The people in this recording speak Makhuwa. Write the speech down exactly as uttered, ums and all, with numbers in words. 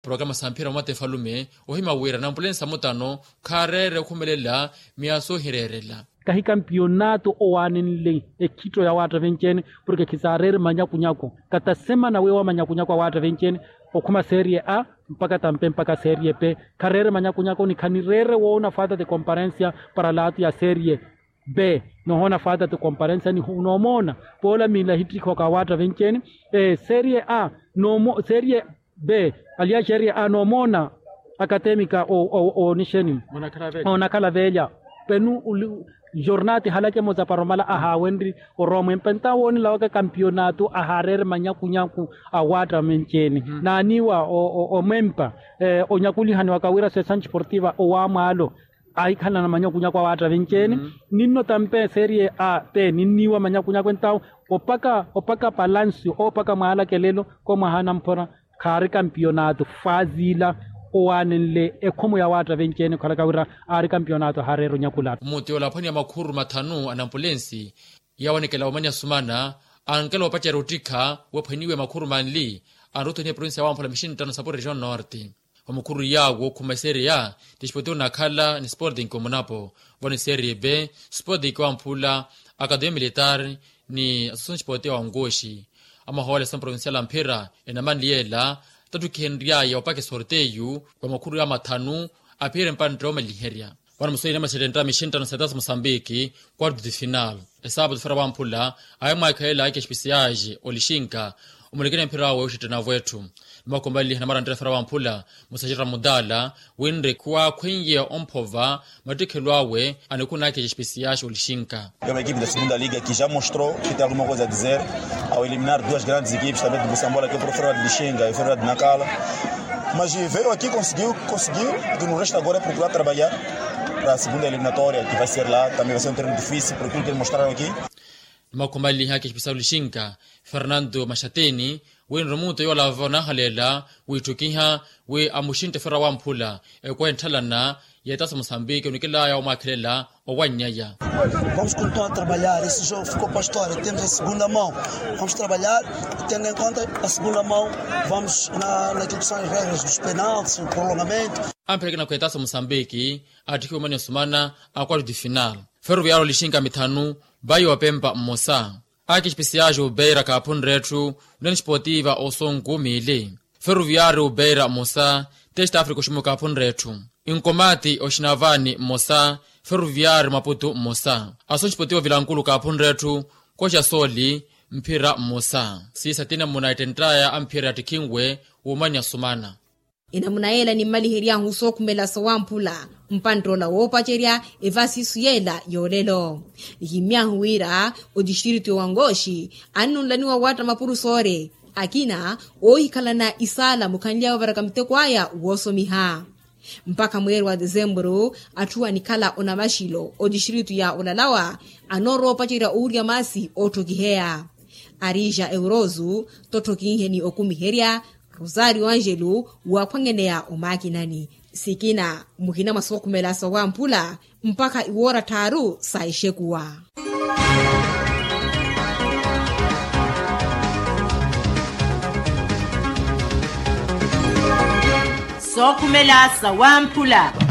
Programa sa mphira wa mata efalume ohima wira anampulensi amutano khaareere okhumelela miya soohireerela. Kahi kampiyonaato owaanenle ekhitto ya waatta venci-ene porke khisaareere manyakunyaku. Kata semana weewa manyakunyaku a waatta venci-ene okhuma serie a mpaka tampe mpaka serie pe. Khareere manyakunyaku ni khanireere woona faata ti komparensiya para laatu ya serie b. Nohoona faata ti komparensiya ni noomoona poola miila ehittikha oka waatta venci-ene serie a. Serie b aliya serie a noomoona akatemika oonixeni. Oonakhala veelya penu jornati halake moza para omala ahaawenri orowa mwempe ntawo onilawaka kampiyonaato ahaareere manyakunyaku a waatta venci-ene naaniiwa omwempa onyakulihani waka wira sessan sportiva owaamwaalo. Ahikhalana manyakunyaku a waatta venci-ene ninno tampe serie a pe ninniiwa manyakunyaku entawo opaka opaka palancio opaka mwaalakelelo ko mwaha anamphora khaari kampiyonaato faaziila owaanenle ekhomo ya waatta venci-ene okhalaka wira aari kampiyonaato ahaareera onyakulaato. Mmuti ola aphwaniya makhuru mathanu a nampulensi yaawanekela omani asumana ankela opacerya ottikha wephwaniwe makhuru manli anrottoniha provincia ya wamphula mixinttano sapu region norte. Vamukhuru yaawo okhuma esereya ti exipotivo nakhala ni sporting omunapo vano eserie b sporting wamphula akademia militar ni associasion exipotivo ya onkoxi. Amahoola esisoni provincial amphira enamanli yeela tattukhenry'aya opaka esorteyu vamakhuru ya mathanu aphiyerye mpantte oomaliherya. Vano musoyini amaxettenta mixinttano setaso mosambiki quarto de final esaapatu fera wamphula ahimwaakhelela ake espesiaxi olixinka omulekeni mphira awe oxettena avo etthu. Ni makomaliha namarantela fera wamphula musaxerra mudala winre khuwaakhwenyeya omphova mattikhelo awe anikhunaka espesiaxi olixinka. Uma equipe da segunda liga que já mostrou que tem alguma coisa a dizer ao eliminar duas grandes equipes também de busambola que profera de lixinka e ferera de nakala. Mas veio aqui conseguiu conseguiu. Que no resto agora é procurar trabalhar para a segunda eliminatória que vai ser lá também vai ser um treino difícil por aquilo que eles mostraram aqui. Ni makhumaliha kexipisa olixinka fernando maxateni wi nromuto yoola vavo naahaleela wiitthukiha wi amuxintte fera wamphula ekwehe ntthalana y'etaso musambiki onikilaya omwaakhelela owannyaya. Vamos continuar a trabalhar esse jogo ficou para a história temos a segunda mão. Vamos trabalhar tendo em conta a segunda mão. Vamos na na que são as regras dos penaltis o prolongamento. Amphereke nakhu etaso musambiki attikhiwe omani osumana a quarto de final. Ferroviario olixinka mithanu vai opempa mmosa. Ake espesiaxi obeira kaaphunre etthu. Union sportiva osonku miili. Ferroviario obeira mmosa. Test africa oximu kaaphunre etthu. Inkomati oxinavani mmosa. Ferroviario maputu mmosa. Associasion sportiva vilankulu kaaphunre etthu. Koxa soli mphira mmosa. Siisa tina mmuna ettenttaya a mphira yattikhinwe w'omani asumana. Enamuna yeela nimmalihery'ahu sookhumela sowamphula mpantt'ola woopacerya evasisu yeela y'olelo. Nihimmy'ahu wira otistritu y'owangoxi annunlaniwa waatta mapurusoore akina oohikhalana isaala mukhanly'awe ovaraka muteko aya woosomiha. Mpakha mweeri wa desemburu atthu anikhala onamaxilo otistritu ya olalawa anoorowa opacerya owurya maasi ootthokiheya. Arija eurosu totthokinheni okumiherya. Rosario angelo waakhwangeneya omaakinani sikina muhina mwa sookhumela sowamphula mpakha iwoora tthaaru sa exekuwa. Sookhumela sawamphula.